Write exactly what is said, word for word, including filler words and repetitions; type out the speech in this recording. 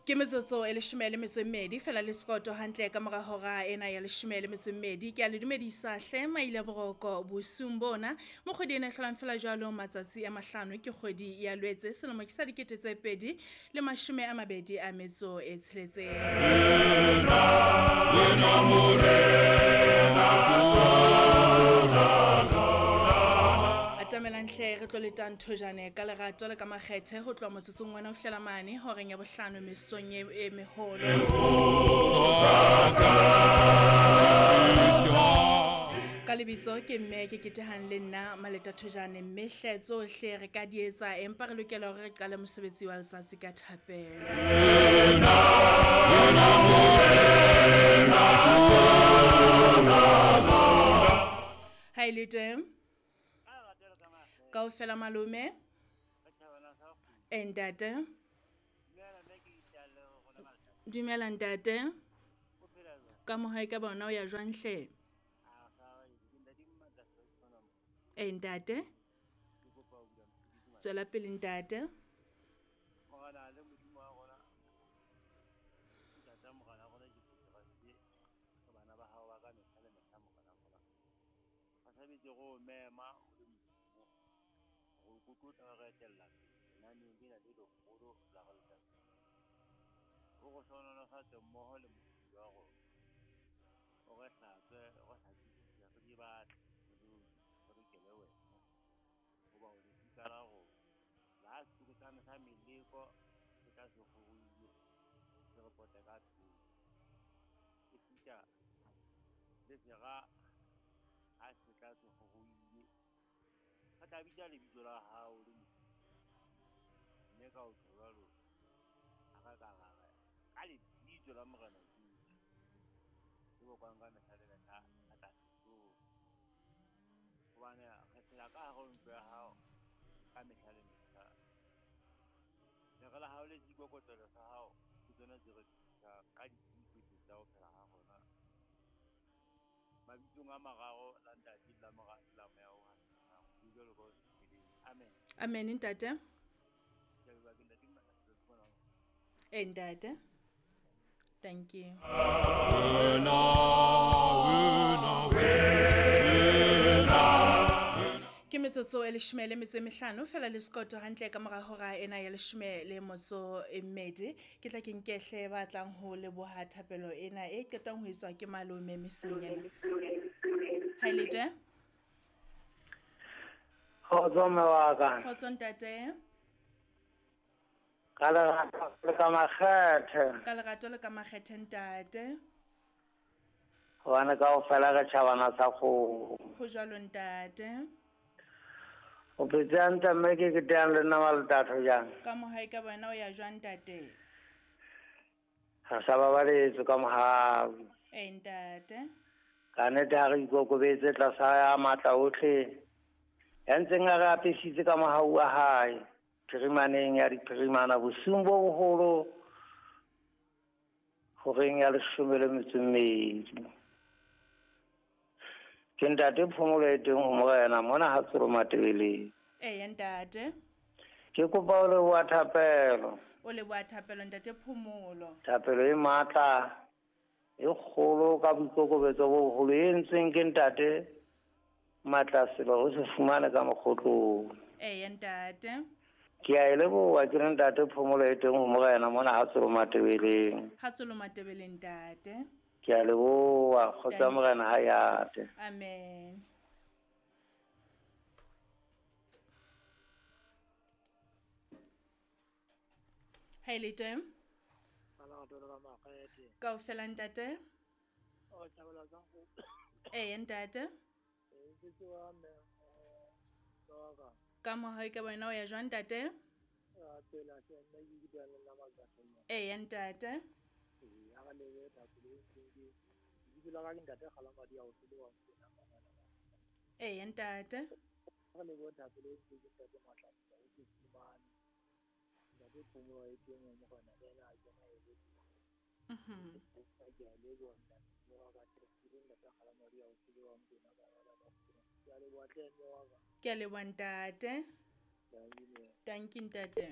Ke metsotso e leshome le metso e mmedi fela le sekoto hantle ka mora hora ena ya leshome le metso e mmedi. Ke a le dumedisa hle maile boroko bosiung bona. Mo kgwedi ena e hlolang fela jwalo matsatsi a mahlano ke kgwedi ya Lwetse selemo ke sa dikete tse pedi le mashome a mabedi a metso e tsheletseng. Atamelang hle re tlo letang thojane ka lerato le ka makgethe ho tloha motsotsong wena ho fihlela mane horeng ya bohlano mesong e, e meholo. Ka lebitso ke mme ke ketehang le nna Maleta Thojane, mme hle tsohle re ka di etsa empa re lokela hore re qale mosebetsi wa letsatsi ka thapelo. Ha e le teng kaofela malome e ntate, dumela ntate, ka mohae ka bona o ya jwang hle? E ntate, tswela pele ntate. Amen ntate. E ntate. Thank you. Ke metsotso e leshome le metso e mehlano fela le sekoto hantle ka mora hora ena ya leshome le motso e mmedi. Ke tla ke nkehle ba tlang ho leboha thapelo ena e qetang ho etswa ke malome mesong ena. Ha le teng? Kgotso mme wa ka. Kgotso ntate. Ka lerato le ka makgethe. Ka lerato le ka makgethe ntate. Hobane kaofela re tjhabana sa kgomo. Ho jwalo ntate. O phetse hantle mme ke ketehang le nna Maleta Thojane. Ka mohae ka bona o ya jwang ntate? Re sa babaletswe ka mohau. E ntate. Ka nnete ha re ikokobetse tlasa ya matla ohle. Ya ntseng a re apesitse ka mohau wa hae phirimaneng ya diphirimana bosiung bo boholo horeng ya leshome le metso e mmedi. Ke ntate Phomolo e teng ho Morena mona ha Tsolo Matebeleng. Eya ntate. Ke kopa o leboha thapelo. O leboha thapelo ntate Phomolo. Thapelo e matla e kgolo ka boikokobetso bo boholo e entsweng ke ntate Matlaselo o se fumane ka mokgotlong. Eya ntate. Ke a e leboha ke re ntate Phomolo e teng ho Morena mona ha Tsolo Matebeleng. Ha Tsolo Matebeleng ntate. Ke a leboha kgotsa Morena ha yate. Amen. Ha e le teng? Kaofela ntate. Eya ntate. Ka mohae ka bona o ya jwang ntate? Eya ntate. Eya ntate. Mhm. Ke a leboha ntate. Thank you ntate.